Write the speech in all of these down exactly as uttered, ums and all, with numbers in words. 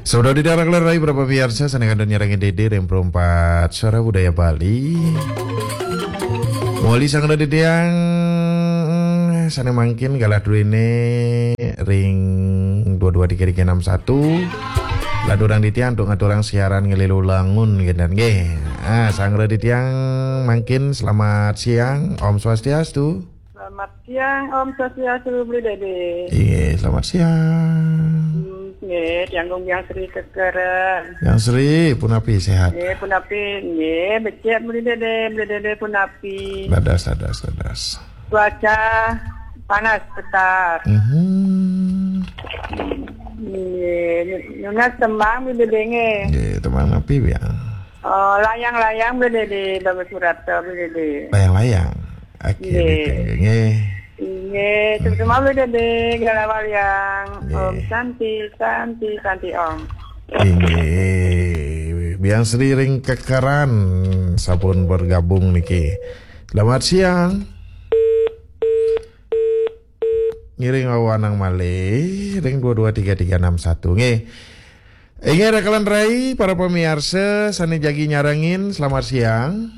Saudara di daerah Kelarai, berapa biasa sana kandun nyarang dede ring perempat suara budaya Bali. Moli sang dede yang sana mangkin galah duene ring dua dua tiga tiga enam satu. Ladurang ditiang untuk ngaturang siaran ngelilu langun gendan nggih. Ah, sang ditiang mangkin selamat siang, Om Swastiastu. Selamat siang, Om Swastiastu, Beli Dede. Iya, selamat siang. Hmm, nggih, tiang Gung Biang Sri Kekeren. Yang Sri, punapi sehat? Nggih, punapi, nggih, becik Beli Dede, Beli Dede punapi. Dadas, dadas, dadas. Cuaca panas setar. Mhm. Nggih, nunas tembang Beli Dede nggih. Nggih, tembang napi, Biang? Oh, layang-layang Beli Dede, Bagus Surata Beli Dede. Layang-layang. Oke, nggih. Nggih. Nggih, hmm. Terutama Beli Dede, Gala Waliang. Nggih. Om Santi, Santi, Santi Om. Inggih. Biang Sri ring Kekeran sampun bergabung niki. Selamat siang. Ngiring wawanang malih ring dua dua tiga tiga enam satu. Nggih. Inggih, rakalan rai, para pamiarsa sane jagi nyarengin, selamat siang.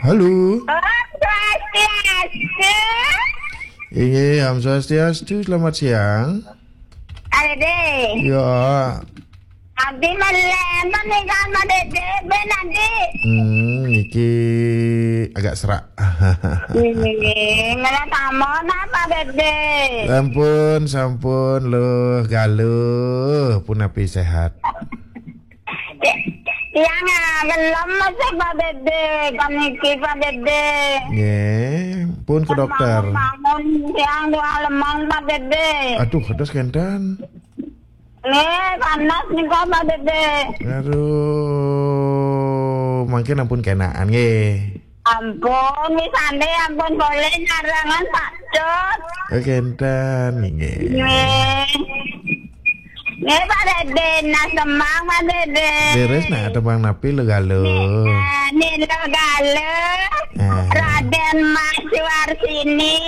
Halo. Om Swastiastu. Inggih, Om Swastiastu, selamat siang. Ade. Ya. Abdi malen menikah sama Dede, ben Adi. Hmm, niki agak serak. Ini, ngeliat tamu napa, Dede? Sampun, sampun, Luh Galuh, punapi sehat? Tiang, ah, gelem masih, Pak Dede, koniki, Pak Dede. Nggih, pun ke dokter. Bangun, bangun, tiang dua lemang, Pak Dede. Aduh, kados kenten. Nggih, panas nika, Pak Dede. Aduh, mangkin ampun kenaan nggih. Ampun, wis ande ampun boleh nyarengan, Pak Cut. Oh, kenten nggih. Nggih. Nggih, Pak Dede, nah semang, Pak Dede. Leres nah, tembang napi Luh Galuh? Nggih, nah, Nilo Galuh. Ah. Raden Mas Warsini,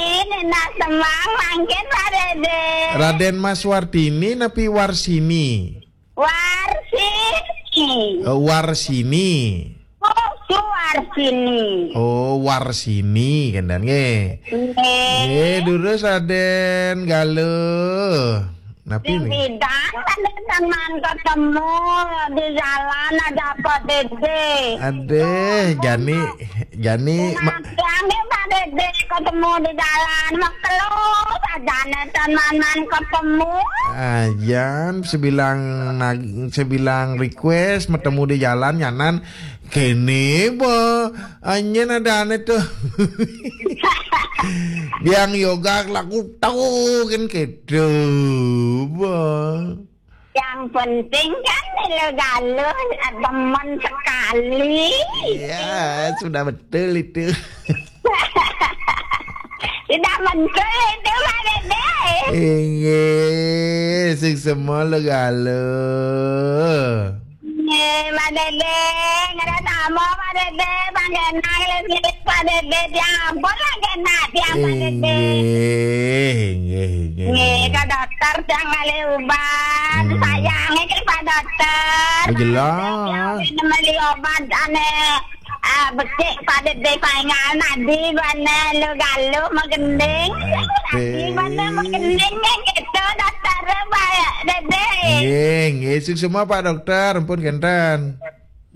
nah semang mangkin, Pak Dede. Raden Mas Wartini napi Warsini? Warsini. Oh, Warsini. Oh, Suwarsini. Oh, Warsini, kenten nggih. Nggih. Nggih, durus Raden Galuh. Napi nih? Bidang kan teman ketemu di jalan ada Pak Dede. Adeh, jani, jani. Nah, ma- tiang deh Pak Dede ketemu di jalan, makelo sajane teman-teman ketemu. Ajan sebilang nag-, sebilang request metemu di jalan nyanan kene bo. Anyen ada ane tuh. Yang yoga laku tahu kan gitu, bo. Yang penting kan Nilo Galuh demen sekali. Iya, sudah betul itu. Sudah betul itu, Pak Dede. Inggih, sing semua Nilo Galuh. Nggih, Pak Dede, ngerasa apa, Pak Dede? Panggenan, ngelis-ngelis, Pak Dede. Ya ampun, lah, kena tiang, Pak Dede. Inggih, inggih, inggih. Nggih, ke dokter, tiang kali ubat. Hmm. Sayangnya ke Pak Dokter. Oh, jelas. Tiang beli obat, ane, ah, becik, Pak Dede, paingan, adi, bane, Nilo Galuh, magending. Adi, bane, magending, ya, gitu, dokter, Pak Dede. Nggih, nggih, suksma, Pak Dokter, ampun, kenten.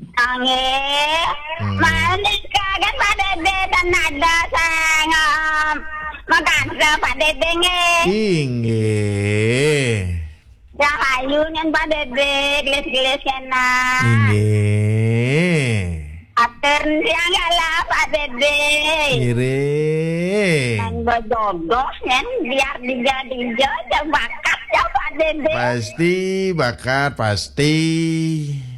Nggih. Hmm. Manika kan Pak Dede, dan ada sang, em, makasih Pak Dede nggih. Inggih. Rahayu nyen Pak Dede, gelis-gelis kena. Inggih. Atur tiang galah Pak Dede. Ngiring. Nang bojodoh nyen biar dija-dija, bakat ya Pak Dede. Pasti bakat, pasti.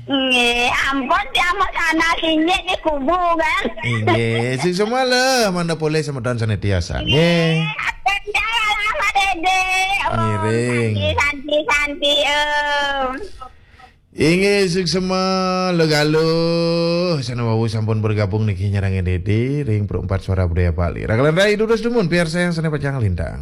Nggih, ampun, tiang mau sana sini di kubu, kan? Inggih, sing semua leh, mangda polih semeton sane tiasa. Nggih. Nggih, atur tiang galah Pak Dede. Om, ngiring. Santi, santi, santi, Om. Inggih, sing semua Nilo Galuh. Sane wau sampun bergabung niki nyarengin Dede ring Pro empat Suara Budaya Bali. Rakalan rai durus dumun, biar saya sane pacang lintang.